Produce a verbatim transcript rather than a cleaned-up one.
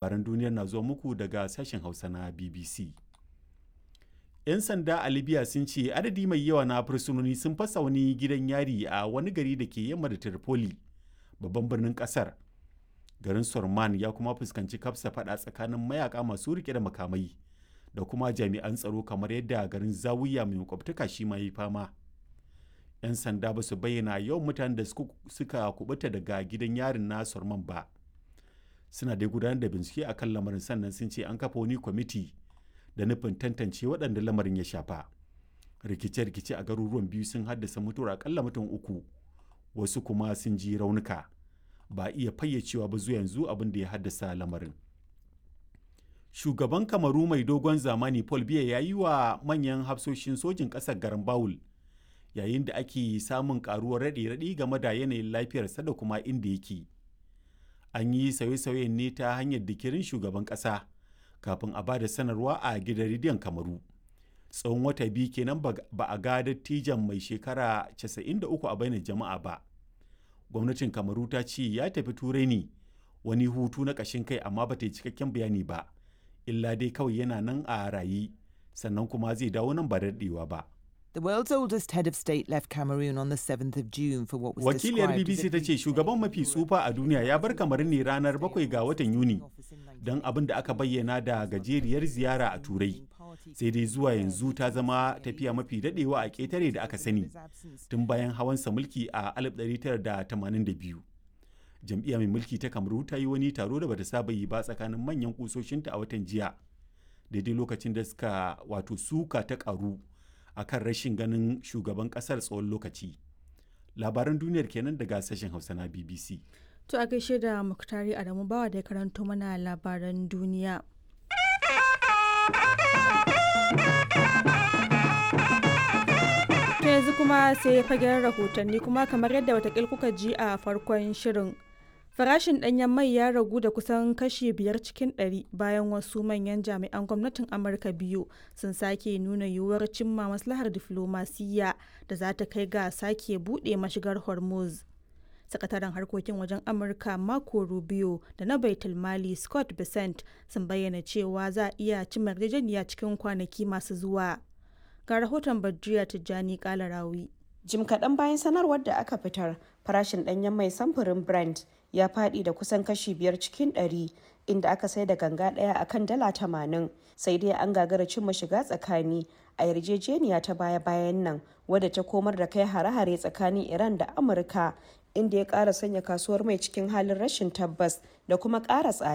Labaran duniyar na zuwa muku daga sashen Hausa na B B C. 'Yan sanda a Libya sun ce adadi mai yawa na fursunoni sun fasa wani gidan yari a wani gari da ke yamma da Tripoli, babban birnin kasar. Garin Sorman ya kuma fuskanci kafsa fada tsakanin mayaka masu rike da makamai da kuma jami'an tsaro, kamar yadda garin Zawiya mai makwabtaka shi ma yi fama. 'Yan sanda ba su bayyana yawan mutanen da suka kubuta daga gidan yarin na Sorman ba. Suna dai gudanar da bincike a kan lamarin, sannan sun ce an kafa wani kwamiti da nufin tantance waɗanda lamarin ya shafa. Rikice-rikice a garuruwan biyu sun haddasa mutuwar akalla mutum uku, wasu kuma sun ji raunuka. Ba a iya fayyacewa ba zuwa yanzu abin da ya haddasa lamarin. Shugaban Kamaru mai dogon zamani Paul Biya ya yi wa manyan hafsoshin sojin ƙasar garan Bawul yayin da ake samun karuwar raɗe-raɗi game da yanayin lafiyarsa da kuma inda yake. An yi sauye-sauyen ne ta hanyar dikirin shugaban ƙasa kafin a ba da sanarwa a gidan rediyon Kamaru. Tsawon wata biyu kenan ba a ga dattijan mai shekara casa'in da uku a bainar jama'a ba. Gwamnatin Kamaru ta ce ya tafi Turai ne wani hutu na ƙashin kai, amma ba ta yi cikakken bayani ba. Illa dai kawai yana nan a raye, sannan kuma zai dawo nan ba da daɗewa ba. The world's oldest head of state left Cameroon on the seventh of June for what was Wakiliyar described as B B C a ta ce shugaban mafi tsufa a duniya ya bar Kamaru ne ranar bakwai ga watan Yuni don abin da aka bayyana da gajeriyar ziyara a Turai. Sai dai zuwa yanzu ta zama tafiya mafi daɗewa a ƙetare da aka sani tun bayan hawansa mulki a alif ɗari tara da tamanin da biyu. Jam'iyya mai mulki ta Kamaru ta yi wani taro da bata saba yi ba tsakanin manyan kusoshinta a watan jiya, daidai lokacin da suka wato suka ta karu a kan rashin ganin shugaban kasar tsawon lokaci. Labaran duniyar kenan daga sashen Hausa na B B C. To a gaishe da Muktari Adamu Bawa da ya karanto mana labaran duniya. To yanzu kuma sai fagen rahotanni, kuma kamar yadda watakil kuka ji a farkon shirin. Farashin ɗanyen mai ya ragu da kusan kashi biyar cikin ɗari bayan wasu manyan jami'an gwamnatin Amurka biyu sun sake nuna yiwuwar cimma maslahar diflomasiyya da za ta kai ga sake buɗe mashigar Hormuz. Sakataren harkokin wajen Amurka Marco Rubio da na Baitul Mali Scott Bessent sun bayyana cewa za a iya cimma yarjejeniya cikin kwanaki masu zuwa. Ga rahoton Badriya Tijjani Kalarawi. Jim kaɗan bayan sanarwar da aka fitar, farashin ɗanyen mai samfurin Brent ya faɗi da kusan kashi biyar cikin ɗari, inda aka sai da ganga ɗaya a kan dala tamanin. Sai dai an gagara cimma shiga tsakani a yarjejeniya ta baya-bayan nan, wadda ta komar da kai hare-hare tsakanin Iran da Amurka, inda ya ƙara sanya kasuwar mai cikin halin rashin tabbas da kuma ƙara tsada.